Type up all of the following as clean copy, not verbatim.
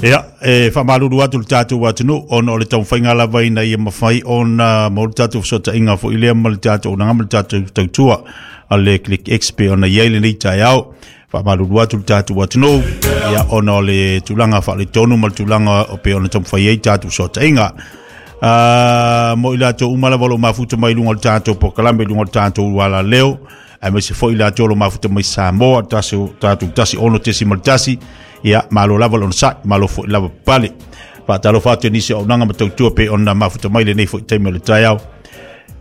Ia, e faamalulu atu i le tatou atunuu ona o le taumafaiga lava ina ia mafai ona maua le tatou fesootaiga foi lea ma le tatou auaunaga ma le tatou tautua a le Click X pei ona i ai lenei taeao. Faamalulu atu i le tatou atunuu ia ona o le tulaga faaletonu ma le tulaga o pei ona taumafai ai tatou fesootaiga. Mo i latou uma lava o lo o mafuta mai i luga o le tatou polokalame i luga o le tatou alaleo, aemaise foi latou o lo o mafuta mai Samoa, tasi, tatou 16.1, ia, malo lava le onosai, malo foi lava pale. Faatalofa atu i nisi o auaunaga ma tautua pei ona mafuta mai lenei foi taimi o le taeao.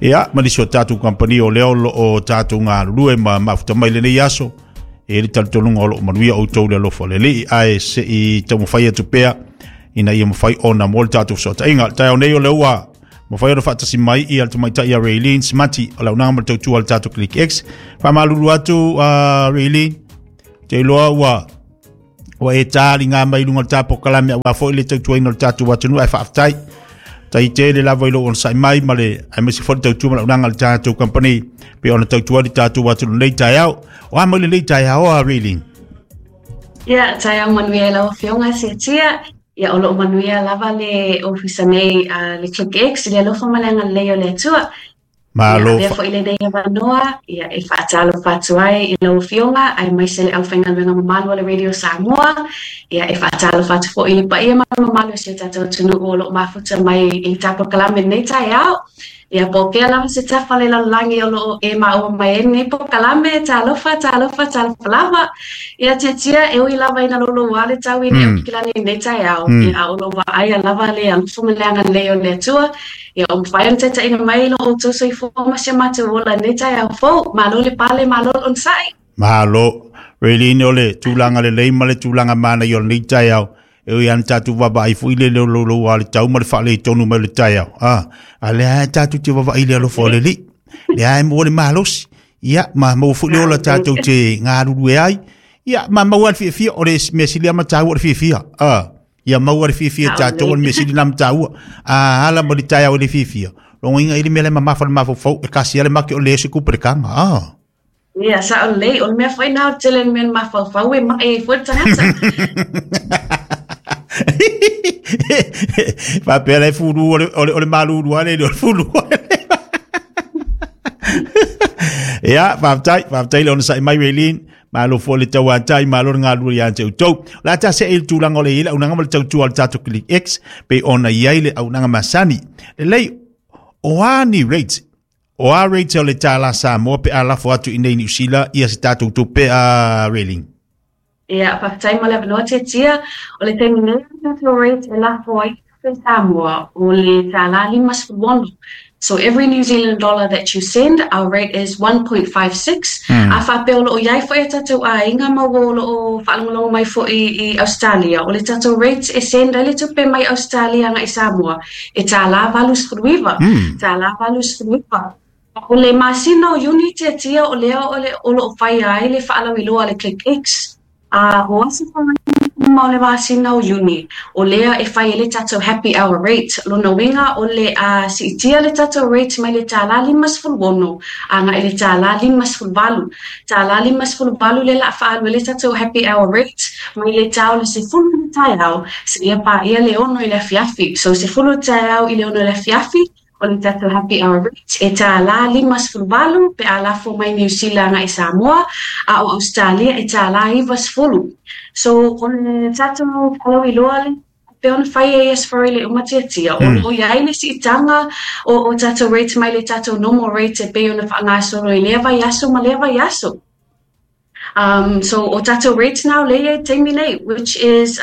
Ia, ma nisi o tatou kamupani o lea o lo o tatou galulue ma mafuta mai lenei aso, e le talitonuga o lo o manuia outou le alofa o le Alii, ae se i taumafai atu pea ina ia mafai ona mo le tatou fesootaiga. Le taeao nei o lea ua mafai ona faatasi mai ia le tamaitai ia Raylene Smati o le auaunaga ma le tautua a le tatou Click X. Faamalulu atu Raylene, te iloa ua ua e taliga mai luga o le tatou polokalame aua foi le tautuaina o le tatou atunuu, ae faafetai. Tai tele lava i lou onosai mai ma le aemaise foi le tautua ma le auaunaga a le tatou company pei ona tautua ai le tatou atunuu nei taeao. O a mai lenei taeao a Raylene? Ia, taeao manuia i lau Afioga Setia. Ia, o lo o manuia lava le ofisa nei a le Click X i le alofa ma le agalelei o le Atua. Malo. Ia, avea foi lenei avanoa ia, e faatalofa atu ai i lau Afioga aemaise le aufaigaluega mamalu a le Radio Samoa. Ia, e faatalofa atu foi i le paia ma le mamalu o si o tatou atunuu o lo o mafuta mai i le tatou polokalame i lenei taeao. Ia, po o fea lava se tafa o le lalolagi o lo o e maua mai ai lenei polokalame, talofa, talofa, talofa lava. Ia, Tiatia, e ui lava ina louloua le tau i le Aukilani i lenei taeao, ia, a o lo o vaaia lava le alofa ma le agalelei o le Atua, ia, ua mafai ona taitaiina mai lo outou soifua ma si o matou ola i lenei taeao fou. Malo le pale, malo le onosai. Malo. Raylene, o le tulaga lelei ma le tulaga manaia o lenei taeao, E ui lava ina tatou vaavaai foi i le louloua o le tau ma le faaletonu mai o le taeao, a, a lea lava tatou te vaavaai i le alofa o le Alii. Lea lava e maua le malosi, ia, ma maua foi le ola tatou te galulue ai, ia, ma maua le fiafia, o le mea sili lava ma taua o le fiafia, a, ia maua le fiafia tatou, o le mea sili lena ma taua. A ala ma le taeao i le fiafia, logoina i le mea la e mamafa le mafaufau, e kasi lava le make o le ese kupelekanga, a. Ia, sao lelei. O le mea foi lena o le tele o le mea na mafaufau e maʻi ai foi le tagata. Faapea la e fulu o le, o le, o le malulu lava le o le fulu. Ia, faafetai, faafetai le onosai mai Raylene. Malo foi le tauatai, malo le galulue ia te outou. O le a ta see i le tulaga o le i ai le auaunaga ma le tautua a le tatou Click X, pei ona i ai le auaunaga masani. Lelei, o a ni rates O a rate o le tālā Samoa pe a lafo atu i nei Niu Sila ia se tātou tupe a Raylene? Ia, faafetai mo le avanoa Tiatia. O le taimi nei o le tatou rate e lafo ai tupe Samoa o le tālā 56. So every New Zealand dollar that you send, our rate is 1.56. A faapea o lo o i ai foi a tatou aiga ma uo o lo o faalogologo mai foi i Ausetalia, o le tatou rate e send ai le tupe mai Ausetalia agai Samoa, E tālā 89, tālā 89. O le masina o Iuni tiatia o lea o le o lo o faia ai le faalauiloa a le Click X, a o aso uma o le masina o Iuni, o lea e fai ai le tatou happy hour rate. Lona uiga o le a siitia le tatou rate mai le tālā 56 agai i le tālā 58. Tālā 58 lea la a faaalu ai le tatou happy hour rate mai le tā o le 10 i le taeao seia paia le 6 i le afiafi. So 10 i le taeao i le 6 i le afiafi o le tatou happy hour rate e tālā 58 pe a lafo mai Niu Sila agai Samoa, a o Ausetalia e tālā 90. So o le tatou faalauiloa lea pei ona fai ai as far le uma tiatia, o lo o i ai le siitaga o o tatou rate mai le tatou normal rate e pei ona faagasolo i lea vaiaso ma lea vaiaso. So o tatou rates na o lea i ai taimi nei, which is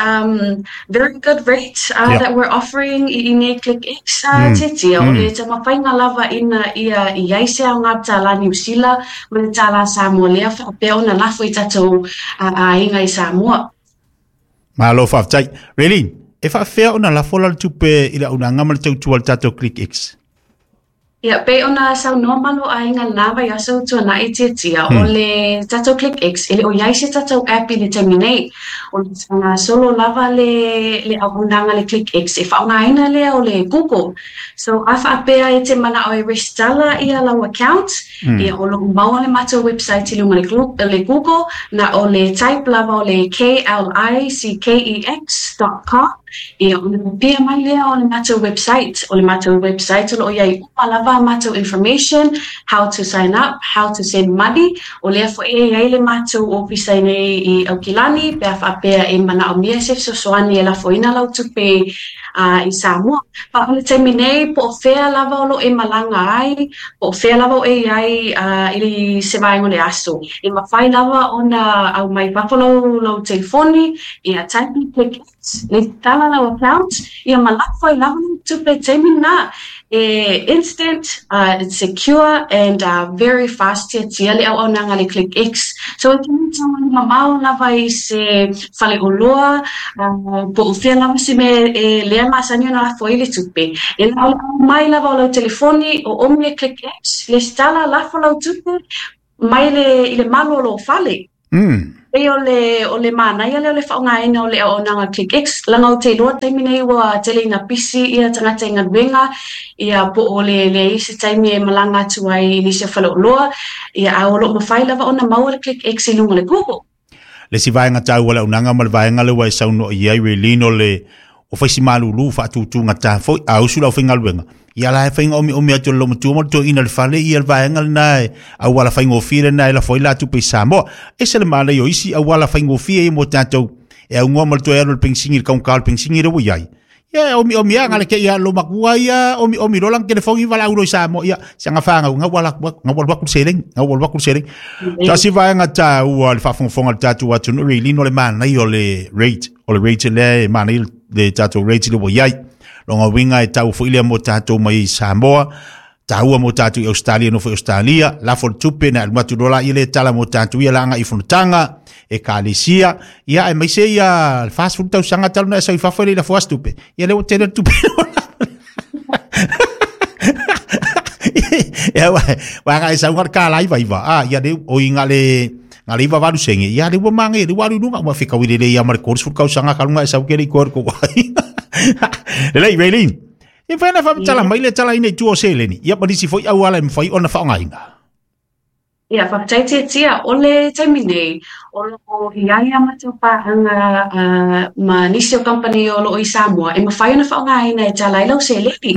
very good rate that we're offering i inei Click X tiatia, o le taumafaiga lava ina ia i ai se aoga tālā Niu Sila ma le tālā Samoa lea faapea ona lafo i tatou aiga i Samoa. Malo faafetai. Raylene, e faafefea ona lafo la le tupe i le auaunaga ma le tautua a le tatou Click X? Ia, pei ona saunoa Maloaiga i lena vaiaso ua tuanai Tiatia, o le tatou ClickX, e le o i ai se tatou app i le taimi nei. O le faagasolo lava le le auaunaga a le ClickX e faaaogaina lea o le Google. So a faapea e te manao e resitala ia lau account, ia o lo o maua le matou website i luga o le Google, na o le type lava o le KLICKEX dot com, Ia, ona pia mai lea o le matou website. O le matou website o lo o i ai uma lava a matou information, how to sign up, how to send money. O lea foi e i ai le matou ofisa i nei i Aukilani pe a faapea e manaomia se fesoasoani e lafoina lau tupe i Samoa. A o le taimi nei, po o fea lava o lo o e malaga ai, po o fea lava o e i ai i se vaega o le aso, e mafai lava ona aumai fafo lau telefoni, ia type i click Resitala lau account, ia ma lafo ai lava lau tupe i taimi lena. E instant, it's secure and very fast tiatia le auaunaga a le ClickX. So e te tau mamao lava i se faleoloa po o fea lava se mea e lea masani ona lafo ai le tupe. E na o le aumai lava o lau telefoni, oomi le ClickX, resitala, lafo lau tupe mai le i le malu o lou fale. Pei o le o le manaia lea o le faaaogaina o le auaunaga ClickX, leaga ou te iloa i le taimi nei ua tele ina pisi ia tagata i galuega, ia po o le leai se taimi e malaga atu ai i nisi o faleoloa, ia a o lo o mafai lava ona maua le ClickX i luga o le Google. Le isi vaega taua o le auaunaga ma le vaega lea ua e saunoa i ai Raylene o le o faisi malulu faatutugata foi a usu le aufaigaluega ia la e faiga omiomi atu le loomatua ma le toeaina i le fale ia le vaega lena e auala faigofie lena e lafo ai la tupe i Samoa. Ese le manaia o isi auala faigofie ia mo tatou e aunoa ma le toe alu i le penisini i le kaunka o le penisini lea ua i ai. Ia e omiomi lava ngale te i a loomatua ia omiomi loa lana telefoni valaau loa i Samoa ia siaga fanau gau ala atu gau alu atu le seleni gau alu atu le seleni. Tasi vaega taua o le faafogafoga a le tatou atunuu Raylene o le manaia o le rate o le rate lea e manaia le tatou rate lea ua i ai. Lona uiga e tau foi lea mo tatou mai i Samoa, taua mo tatou i Ausetalia, nofo i Ausetalia, lafo le tupe na alu atu loa laia lea tala mo tatou ia la agai i fonotaga, ekalesia, ia aemaise ia le 40 tausaga talu na e sau i fafo e le i lafo lava se tupe. Ia lea ua tele le tupe. Ia ua agai sau le kālā iva iva. Ah, ia le o i ngā le ngā le iva valu senge. Ia le ua mange, le ua alu i luga, ua fekaui lelei ia ma le 30 tausaga ka luga e sau ke le i koe ko wai. Lelei, Raylene. E whai na whamatala mai le tala ina i tua o seleni. Ia ma nisi foi auala e mawhai ona whaongaina. Ia, faafetai Tiatia. O le taimi nei, o lo o i ai a matou paaga ma nisi o kamupani o lo o i Samoa e mafai ona faaaogaina e tala ai lau seleni.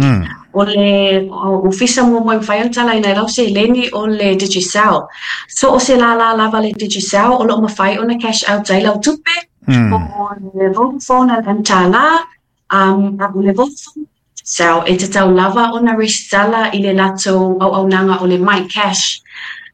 O le ofisa muamua e mafai ona talaina ai lau seleni o le Digicel. So o se lālā lava le Digicel o lo o mafai ona cash out ai lau tupe, o le Vodafone a le MTAL, a o le Vodafone Digicel e tatau lava ona resitala i le latou auaunaga o le MyCash.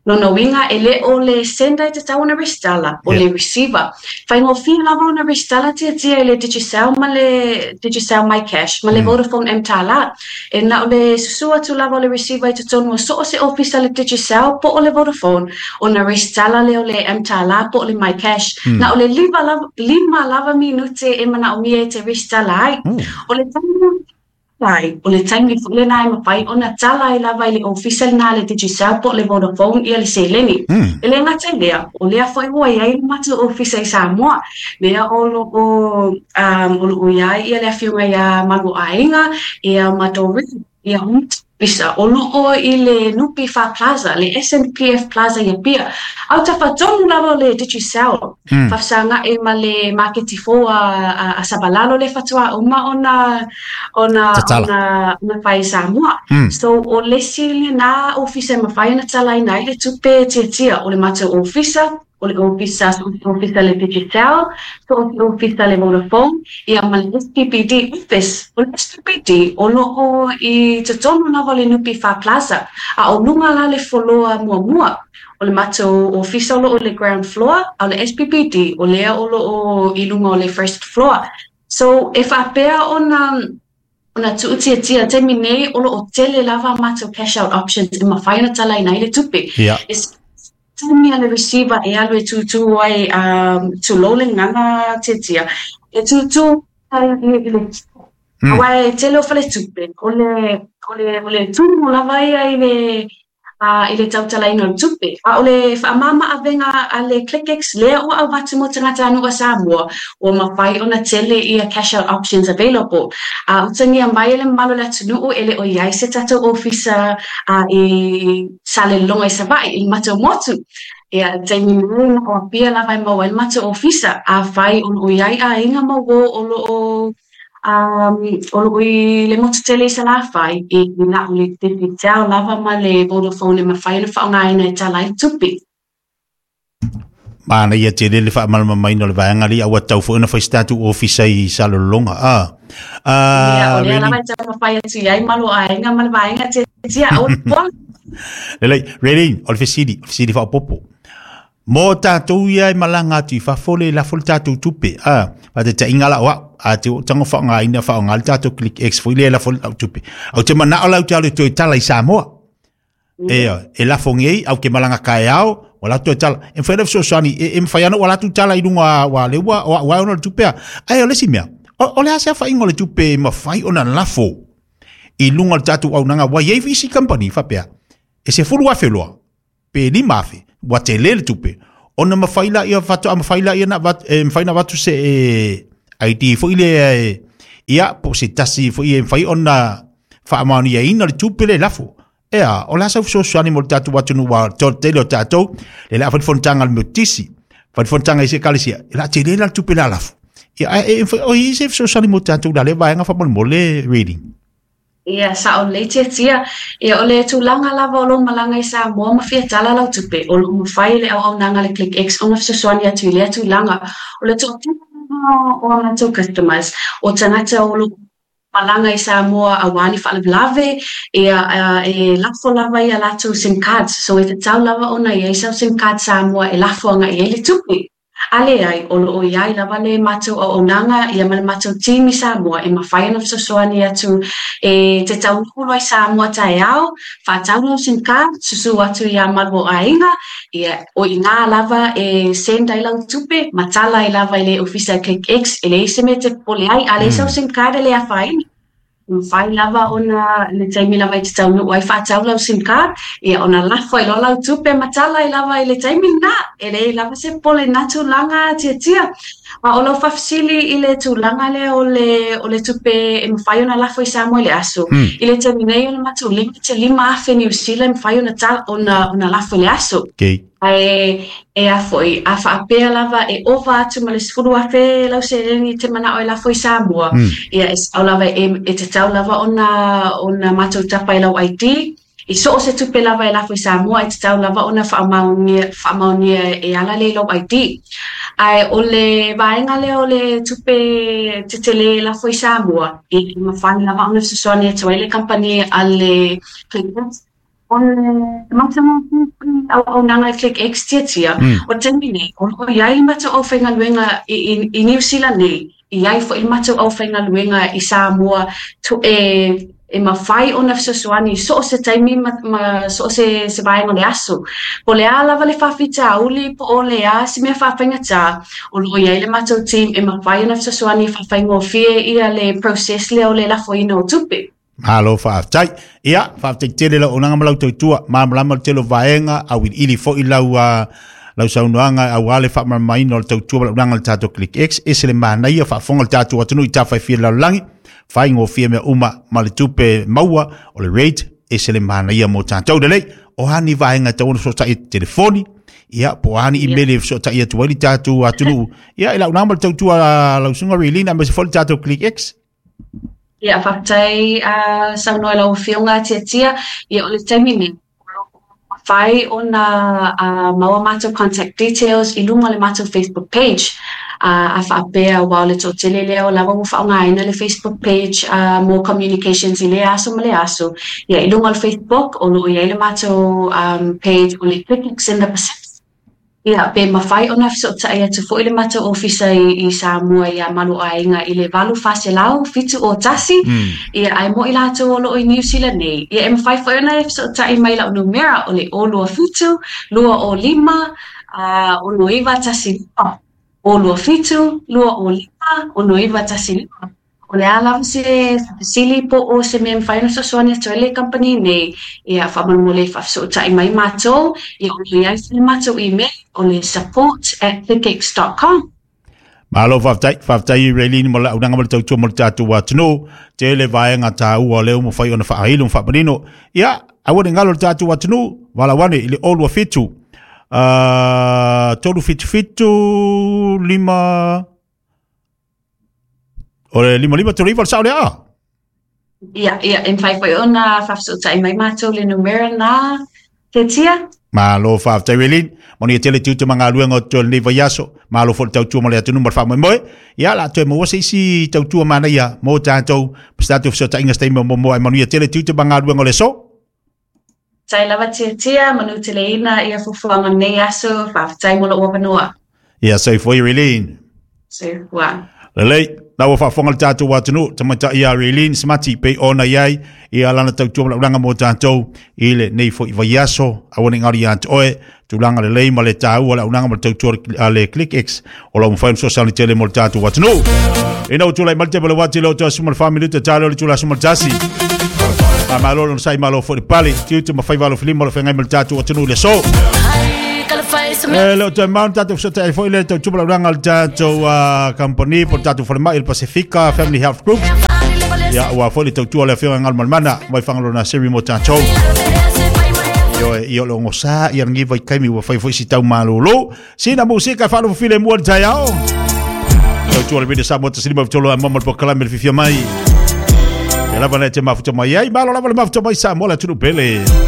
Lona uiga, e le o le sender e tatau ona resitala, o le receiver. Faigofie lava ona resitala tiatia i le Digicel ma le Digicel MyCash ma le Vodafone mTala. E na o le susu atu lava o le receiver i totonu o so o se ofisa le Digicel po o le Vodafone ona resitala lea o le mTala po o le MyCash. Na o le lima lava minute e manaomia e te resitala ai. O le taimi ai, o le taimi foi lena e mafai ona tala ai lava i le ofisa lena a le Digicel po o le Vodafone ia le seleni. E le gata i lea, o lea foi ua i ai le matou ofisa i Samoa, lea o lo o, o lo o i ai ia le afioga ia Maluaiga ia ma Doreen, ia ofisa o lo o i le NPF Plaza, le SNPF Plaza i Apia. Autafa tonu lava o le Digicel, faafesaga'i ma le maketi fou a Savalalo lea faatoa uma ona ona ona ona fai i Samoa. So o le isi lena ofisa e mafai ona talaina ai le tupe tiatia o le matou ofisa, o le ofisa, so o se ofisa le Digicel, so o se ofisa le Vodafone, ia ma le SPBD office. O le SPBD o lo o i totonu lava o le NPF Plaza, a o luga la le foloa muamua. O le matou ofisa o lo o i le ground floor, a o le SPBD o lea o lo o i luga o le first floor. So e faapea ona ona tuutiatia taimi nei o lo o tele lava a matou cash out options e mafai ona talaina ai le tupe. E taimi a le receiver e alu e tūtū ai, tulou le gagana tiatia, e tūtū ai i le. Aua e tele o faletupe, o le, o le, o le tumu lava ia i le, i le tautalaina o le tupe. A o le faamama-avega a le ClickX lea ua avatu mo tagatanuu a Samoa, ua mafai ona tele ia cash out options available. A utagia mai e le mamalu o le atunuu e le o i ai se tatou ofisa i Salelologa i Savaii i le matou motu. Ia, i le taimi nei na o Apia lava e maua ai le matou ofisa. Afai o lo o i ai aiga ma uō o lo o o lo o i le motu tele i Salafai, e na o le Digicel lava ma le Vodafone e mafai ona faaaogaina e tala ai le tupe. Manaia tele le faamalamalamaina o le vaega lea, ua tatau foi ona fai se tatou ofisa i Salelologa. Ia, o lea lava e taumafai atu i ai ma lou aiga ma le vaega tiatia, aua le popola. Lelei, Raylene, o le fesili, o le fesili faaopoopo. Mo tatou ia e malaga atu i fafo le lafo le tatou tupe, a, faataitaiga la o au, a te o tago faaaogaina faaaoga le tatou Click X foi lea e lafo lau tupe. Ou te manao la ou te alu e toe tala i Samoa. E, e lafo nei, au ke malaga kaeao, ua latou toe tala. E mafai ona fesoasoani, e mafai ona ua latou tala i luga, ua le ua, o au ai ona o le tupe a. Ae o le isi mea, o le a se afaina o le tupe e mafai ona lafo i luga o le tatou auaunaga, ua i ai isi kamupani faapea, e 10,000 loa, pe 5,000, ua tele le tupe, ona mafai lea, faatoa mafai lea ona avatu, e mafai ona avatu se ID foi lea e, ia, po o se tasi foi e mafai ona faamaoniaina le tupe lea e lafo. Ea, o le a sau fesoasoani mo le tatou atunuu ua tele o tatou, le la fai le fonotaga a le Metotisi, fai le fonotaga i se ekalesia, e la tele la le tupe la lafo. Ia, ae, e, o i se fesoasoani mo tatou la lea vaega faamolemole, Raylene. Ia, sao lelei Tiatia. Ia, o le tulaga lava o lou malaga i Samoa ma fia tala lau tupe, o lo o mafai e le auaunaga a le ClickX ona fesoasoani atu i lea tulaga. O le toatele lava o a matou customers, o tagata o lo o malaga i Samoa aua ni faalavelave, ia, e lafo lava i a latou sim cards. So, e tatau lava ona i ai sau sim card Samoa e lafo agai i ai le tupe. A leai, o lo o i ai lava le matou auaunaga ia ma le matou team i Samoa e mafai ona fesoasoani atu e te taunuu loa i Samoa taeao, faatau lau sim card, susu atu iā malu o aiga, ia, o i ina lava e send ai lau tupe ma tala ai lava i le ofisa e ClickX, e leai se mea e te popole ai, a leai sau sim card e le afaina. Mafai lava ona le taimi lava i te taunuu ai faatau lau sim card, ia ona lafo ai loa lau tupe ma tala ai lava i le taimi lena. E leai lava se popole i lena tulaga Tiatia. A o lau faafesili i le tulaga lea o le o le tupe e mafai ona lafo i Samoa i le aso, i le taimi nei o le matou 5,000 Niu Sila e mafai ona ona ona lafo i le aso. Okay. Ae e a foi, a faapea lava e ova atu ma le 10,000 lau seleni e te manao e lafo i Samoa, ia e sao lava e, e tatau lava ona, ona matou tapa i lau ID, i so o se tupe lava e lafo i Samoa e tatau lava ona faamaonia, faamaonia e ala lea i lou ID. Ae o le vaega lea o le tupe tetele e lafo i Samoa, e mafai lava ona fesoasoani atu ai le kamupani a le Clickbank. O le matagofie foi o le auaunaga i ClickX Tiatia, o le taimi nei, o lo o i ai le matou aufaigaluega i, i, i Niu Sila nei, i ai foi le matou aufaigaluega i Samoa e, e mafai ona fesoasoani i so o se taimi ma, ma so o se, se vaega o le aso. Po o le a lava le faafitauli po o le a se mea faafaigata, o lo o i ai le matou team e mafai ona fesoasoani e faafaigofie ia le process lea o le lafoina o tupe. Malo faafetai. Ia, faafetai tele lau auaunaga ma lau tautua. Malamalama le tele o vaega, auiliili foi lau, lau saunoaga aua le faamalamalamaina o le tautua ma le auaunaga a le tatou Click X. Ese le manaia, faafofoga le tatou atunuu i tafa e fia lalolagi, faigofie mea uma ma le tupe maua, o le rate, ese le manaia mo tatou. Lelei, o a ni vaega e tatau ona fesootai i telefoni, ia, po o a ni imeli e fesootai atu ai le tatou atunuu. Ia, i lau auaunaga ma le tautua a lau susuga Raylene, aemaise foi le tatou Click X. Ia, faafetai saunoa i lau Afioga Tiatia. Ia, o le taimi nei, o lo o mafai ona maua matou contact details i luga o le matou Facebook page. A faapea aua o le toatele lea o lava ua faaaogaina le Facebook page mo communications i lea aso ma lea aso. Ia, i luga o le Facebook o lo o i ai le matou page o le Clinics in the Pacific. Ia, pe mafai ona fesootai atu foi le matou ofisa i Samoa iā Malu Aiga i le 8 400 7 0 1, ia, ae mo i latou o lo o i Niu Sila nei, ia, e mafai foi ona e fesootai mai i lau numera o le 0 2 7 2 0 5 6 9 1 5, 0 2 7 2 0 5 6 9 1 5. O le a lava se fesili po o se mea e mafai ona fesoasoani atu ai le kamupani nei, ia faamolemole faafesootai mai matou, ia o lo o i ai foi le matou email o le support@clickx.com. Malo faafetai, faafetai i Raylene mo le auaunaga ma le tautua mo le tatou atunuu. Tele vaega taua o lea ua mafai ona faailo ma faamanino. Ia, aua ne i galo le tatou atunuu, valaau ane i le 027 377 5 O le 55 39 o le sao lea a? Ia, ia, e mafai foi ona faafesootai mai matou i le numera lena, Tetia. Malo faafetai Raylene. Manuia tele tiute ma galuega o totoe o lenei vaiaso. Malo foi le tautua mo le atunuu ma le faamoemoe. Ia, la toe maua se isi tautua manaia mo tatou, ma se tatou fesootaiga se taimi o muamua. Ae manuia tele tiute ma galuega o le aso. Faafetai lava Tiatia, manuteleina ia fuafuaga o lenei aso, faafetai mo lou avanoa. Ia soifua Raylene. Soifua. Lelei, la ua faafofoga le tatou atunuu, tamaitai ia Raylene Smati pei ona i ai ia lana tautua ma laulaga mo tatou i lenei foi vaiaso. Aua ne i galo ia te oe, tulaga lelei ma le taua o le auaunaga ma le tautua a le ClickX o lo o mafai ona fesoasoani tele mo le tatou atunuu. Ina ua tulai mai le taimi o le uati le o 14 minute tale o le itula 11. Faamalo le onosai malo foi le pale, tiute ma faiva alofilima o le feagai ma le tatou atunuu i le aso. E le o toe mau tatou fesootai foi le tautua ma le auaunaga a le tatou kamupani po o le tatou falemai o le Pasifika Family Health Group. Ia, ua foi le tautua a le Afioga i Galumalemana mai Fagaloa Siri mo tatou. Ioe, ia o le ogosā ia lenei vaitaimi ua fai foi si tau malolo. Sina musika e faalofo filemu ai le taeao. Tautua le Radio Samoa 153 a mama le polokalame le fifia mai. E lava nei te mafuta mai ai, malo lava le mafuta mai Samoa le atunuu pele.